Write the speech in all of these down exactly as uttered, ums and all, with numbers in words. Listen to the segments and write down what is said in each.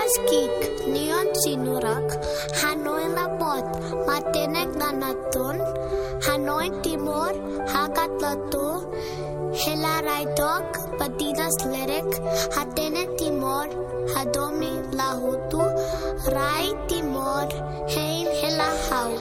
Skik, nion sinurak, hanoin labot, matenek danatun, hanoin Timor, hakat latu, hela rai tok, patinas lerek, hatene Timor, hadomi lahutu, rai Timor, hein hela hau.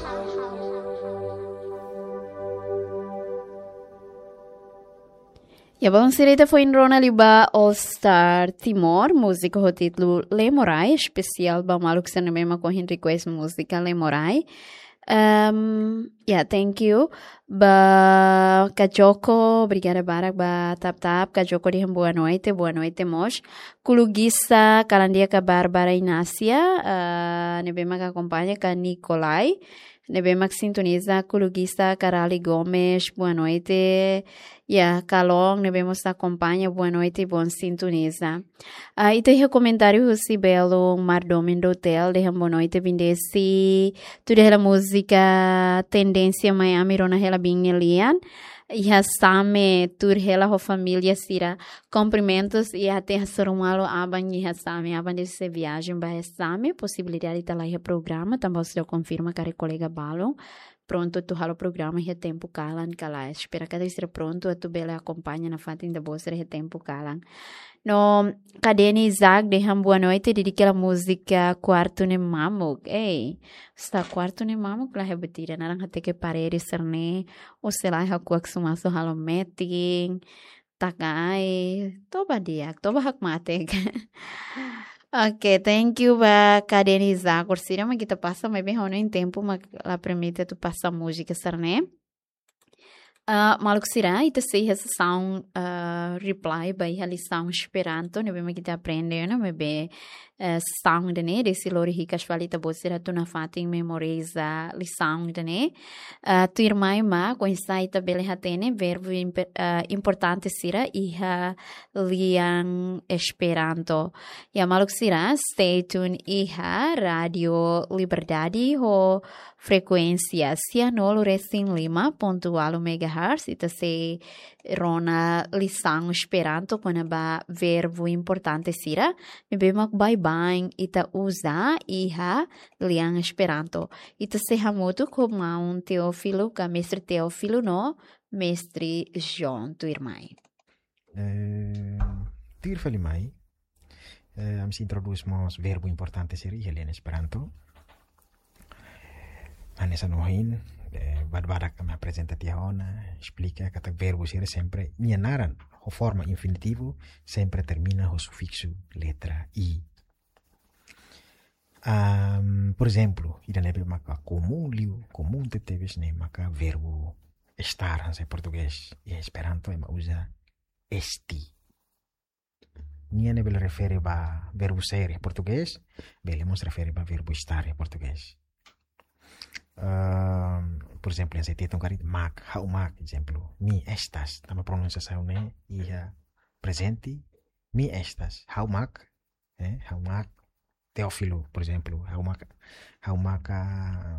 Ya, bom, sira ita foin rona liu ba All Star Timor, múzika ho títulu Lemorai, espesiál ba maluk sira ne'ebé mak ohin request múzika Lemorai. Ehm, ya, thank you. Ba Kajoko, obrigada barak ba tap-tap. Kajoko dehan boa noite, boa noite mós. Kulugisa, kalan di'ak ka Bárbara Inácia, ah, ne'ebé mak akompaña ka Nikolai. Ne'ebé mak sintoniza, Kulugisa Karali Gomes, boa noite. Ya, Kalon, ne'ebé mós akompaña, boa noite, bom sintoniza. Ah, ita iha komentáriu husi Belo Mardomen do Hotel, dehan boa noite, Bindesi. Tuir hela múzika Tendénsia Miami, rona hela biin nia lian. Iha Same, tuir hela ho família sira. Kumprimentus, iha te hasoru malu aban iha Same, aban desi sei viajen ba Same, posibilidade ita la iha programa, tanba sira konfirma karik kolega balun. Prontu atu halo programa iha tempu kalan ka lae. Espera katak sira prontu atu bele akompaña nafatin ita-boot sira iha tempu kalan. No, Kadeni Isaac dehan boa noite, dedika hela múzika Kuartu ne'e Mamuk. Ei, sá Kuartu ne'e Mamuk la iha buat ida, naran hateke parede sira-ne'e, ou sei la iha kuak sumasu halo metin, taka ai, toba di'ak, toba hakmatek. Oke, thank you ba Kadeni Isaac, orsida mak ita pasa, maibé ha'u hanoin tempu mak la permite atu pasa múzika sira-ne'e. Ah, maluk sira, ita sei iha sesaun, ah, reply ba iha lisaun Esperanto, ne'ebé mak ita aprende ona, maibé, eh, sesaun ida-ne'e, desi lori hikas fali ita-boot sira atu nafatin memoriza lisaun ida-ne'e. Ah, tuirmai mak, oinsá ita bele hatene verbu impe-, ah, importante sira iha lian Esperanto. Ya maluk sira, stay tuned iha Rádio Liberdade ho frekuénsia sianulu resin lima pontu ualu megahertz, ita sei rona lisaun Esperanto kona-ba verbu importante sira, ne'ebé mak baibain ita uza iha lian Esperanto. Ita sei hamutuk ho maun Teófilo, ka Mestre Teófilo no Mestre João tuirmai. Eh, tuir fali mai, eh, ami sei introdús mós verbu importante sira iha lian Esperanto. Hanesan ohin, eh, badak-badak ami aprezenta tiha ona, esplika katak verbu sira sempre nia naran, ho forma infinitivu, sempre termina ho sufiksu letra i. Am, por ezemplu, ida ne'ebé maka komún liu, komún tebetebes ne'e maka verbu estar, hanesan portugés. Iha Esperanto ema uza esti. Nia ne'e bele refere ba verbu ser iha portugés, bele mós refere ba verbu estar iha portugés. Am, por ezemplu, hanesan ita hetan karik mak, ha'u mak, ezemplu, mi estas, tanba pronunsiasaun ne'e iha prezente, mi estas, ha'u mak, eh, ha'u mak Teófilo, por ezemplu, ha'u mak, ha'u mak, ah,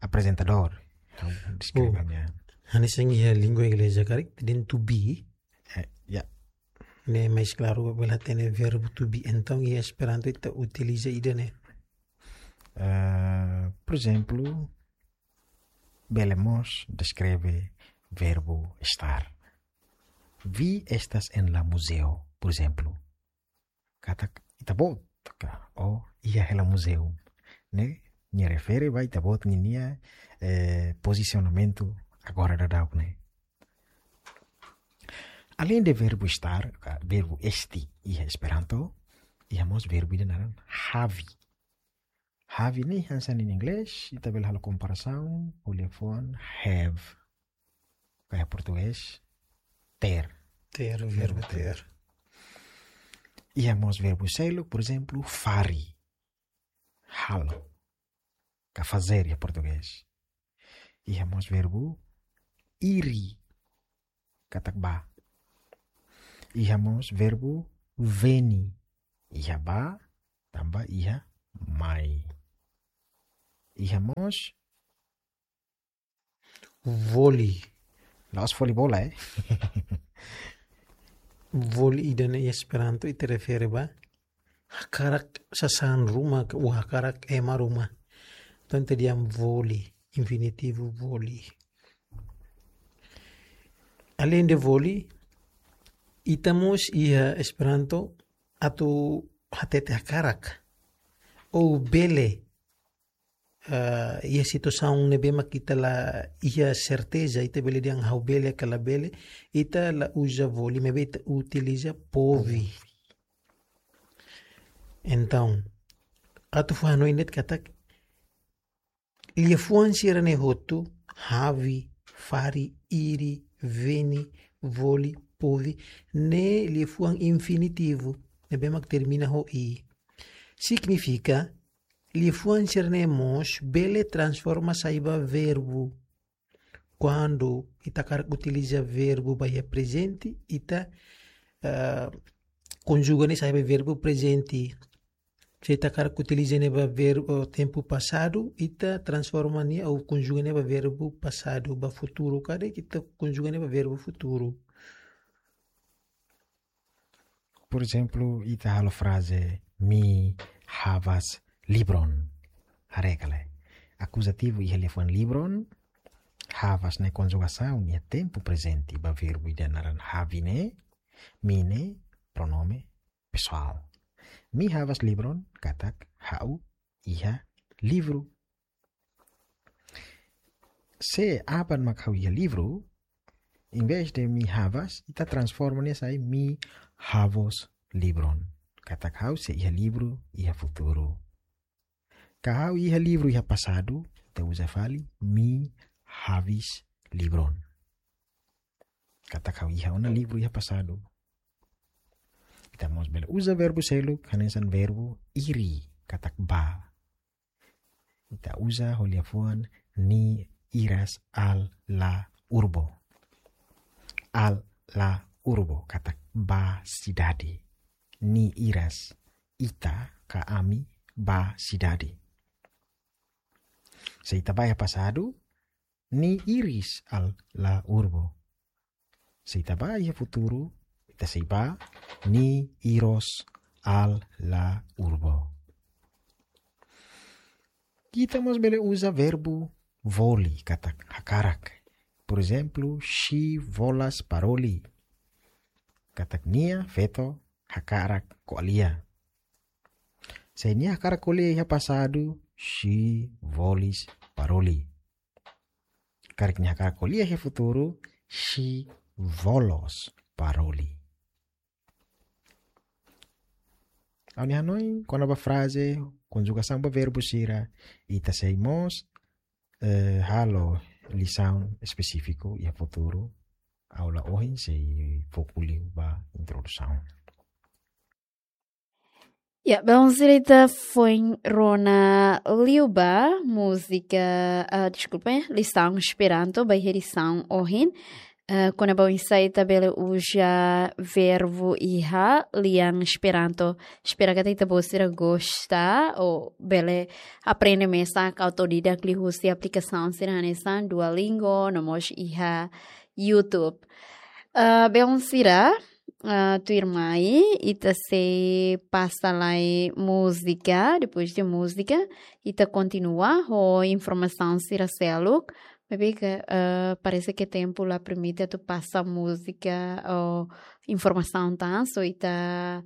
aprezentadór, ha'u deskreve. Oh, ami-nia. Hanesan iha língua inglesa karik, dehan to be. Eh, ya. Ne'e mais klaru, bele hatene verbu to be. Entaun, iha Esperanto ita utiliza ida-ne'e. Eh, por ezemplu, bele mós deskreve verbu estar. Vi estas en la muzeo, por ezemplu. Katak ita-boot ka, o iha hela muzeu. Ne'e, nia refere ba ita-boot ninia, eh, pozisionamentu agora daudaun ne'e. Aleinde verbu estar, ka verbu esti iha Esperanto, iha mós verbu ida naran havi. Havi ne'e hanesan iha inglés, ita bele halo komparasaun, ko'alia fuan, have. Ka iha portugés, ter. Ter, verbu ter. Iha mós verbu seluk, por ezemplu, fari. Halo. Ka fazer iha portugés. Iha mós verbu iri. Katak bá. Iha mós verbu veni. Iha bá, tanba iha mai. Iha mós voli. La'ós voli bola, eh. Voli ida-ne'e iha Esperanto ita refere ba hakarak sasán ruma, ka hakarak ema ruma. Entaun ita dehan voli, infinitivu voli. Aleinde voli, ita mós iha Esperanto atu hatete hakarak. Ou bele, ah, iha situasaun ne'ebé mak ita la iha serteza, ita bele dehan ha'u bele ka labele, ita la uza voli, maibé ita utiliza povi. Entaun, atu fó hanoin de'it katak, liafuan sira-ne'e hotu, havi, fari, iri, veni, voli, povi, ne'e liafuan infinitivu, ne'ebé mak termina ho i. Signifika, liafuan sira-ne'e mós bele transforma sai ba verbu. Kuandu ita hakarak utiliza verbu ba iha prezente, ita, ah, konjuga ne'e sai ba verbu prezente. Se ita hakarak utiliza ne'e ba verbu, tempu pasadu, ita transforma nia ou konjuga ne'e ba verbu pasadu, ba futuru karik ita konjuga ne'e ba verbu futuru. Porezemplu, ita halo fraze mi havas livron. Haree ka lae. Akuzativu iha liafuan livron, havas ne'e konjugasaun iha tempu prezente ba verbu ida naran havi ne'e, mi ne'e pronome pesoál. Mi havas livron, katak ha'u iha livru. Se aban mak ha'u iha livru, em vez de mi havas, ita transforma nia sai mi havos livron. Katak ha'u sei iha livru iha futuru. Ka ha'u iha livru iha pasadu, ita uza fali mi havis livron. Katak ha'u iha ona livru iha pasadu. Ita mós bele uza verbu seluk, hanesan verbu iri, katak bá. Ita uza ho liafuan ni iras al la urbo. Al la urbo, katak bá sidade. Ni iras, ita ka ami bá sidade. Se ita bá iha pasadu, ni iris al la urbo. Se ita bá iha futuru, ita sei bá ni iros al la urbo. Ita mós bele uza verbu voli, katak hakarak. Porezemplu, si volas paroli. Katak nia feto hakarak ko'alia. Se nia hakarak ko'alia iha pasadu, si volis paroli. Karik nia hakarak ko'alia iha futuru, si volos paroli. Ha'u-nia hanoin kona-ba fraze, konjugasaun ba verbu sira, ita sei mós, eh, halo lisaun espesífiku iha futuru, aula ohin sei foku liu ba introdusaun. Ya, belun sira, ita foin rona liu ba múzika, ah, deskulpa, eh, lisaun Esperanto ba iha edisaun ohin. Eh, kona-ba oinsá ita bele uza verbu iha lian Esperanto. Espera katak ita-boot sira gosta ou bele aprende mesak autodidak liuhusi aplikasaun sira hanesan Duolingo, no mós iha YouTube. Ah, belun sira, ah, tuirmai, ita sei pasa lai múzika, depois de múzika, ita kontinua ho informasaun sira seluk. Maibé ke, ah, parese ke tempu la permite atu pasa múzika ou informasaun tan, so ita,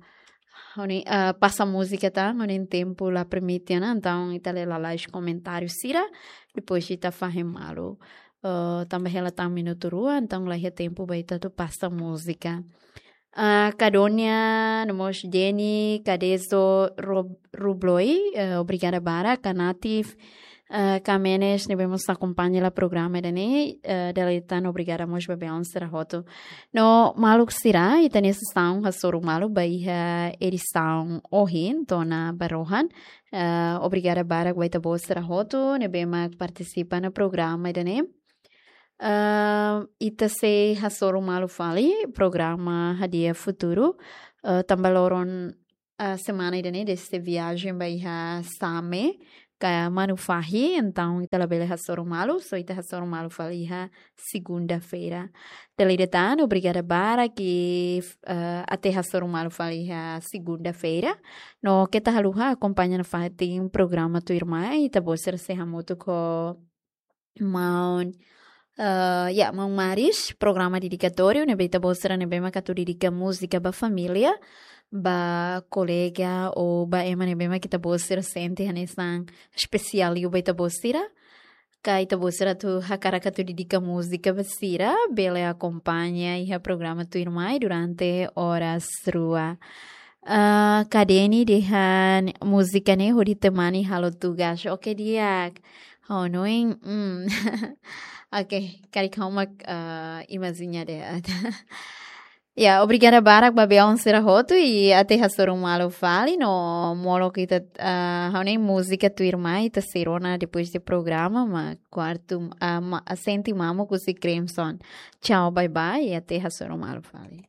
ha'u-nia, ah, pasa múzika tan, ha'u-nia tempu la permite ona, entaun ita lee lalais komentáriu sira, depois ita fahe malu. Ah, tanba hela tan minutu rua, entaun la iha tempu ba ita atu pasa múzika. Ah, Kadonia, no mós Jenny, Kadezo, Rob-, Rubloi, eh, obrigada barak, Kanatif, eh, Kamenes, ne'ebé mós akompaña hela programa ida-ne'e, eh, dala ida tan obrigada mós ba belun sira hotu. No maluk sira, ita-nia sesaun hasoru malu ba iha edisaun ohin, to'o ona ba rohan. Eh, obrigada barak ba ita-boot sira hotu, ne'ebé mak partisipa iha programa ida-ne'e. Ah, ita sei hasoru malu fali programa Hadi'a Futuru. Ah, tanba loron, ah, semana ida-ne'e desde viajen ba iha Same, ka manu fahi, entaun ita labele hasoru malu, só ita hasoru malu fali iha segunda-feira. Tele detan, obrigada barak, eh, até hasoru malu fali iha segunda-feira. No keta haluha akompaña nafatin programa Tuirmai, ita-boot sira sei hamutuk ho maun, eh, ya, maun Maris, programa dedikatóriu, ne'ebé ita-boot sira ne'ebé mak atu dedika múzika ba família, ba kolega, ou ba ema ne'ebé mak ita-boot sira sente hanesan espesiál liu ba ita-boot sira. Ka ita-boot sira atu hakarak atu dedika múzika ba sira, bele akompaña iha programa Tuirmai durante oras rua. Ah, Kadeni dehan múzika ne'e hodi temani halo tugas. Oke, di'ak. Ha'u hanoin, mm. Oke, karik ha'u mak, ah, imajina de'it. Ya, obrigada barak ba belun sira hotu i até hasoru malu fali no molok ita, ah, ha'u hanoin múzika Tuirmai ita sei rona depois de programa, mak kuartu, ah, ma-, sente mamuk husi Crimson. Tchau, bye bye, i até hasoru malu fali.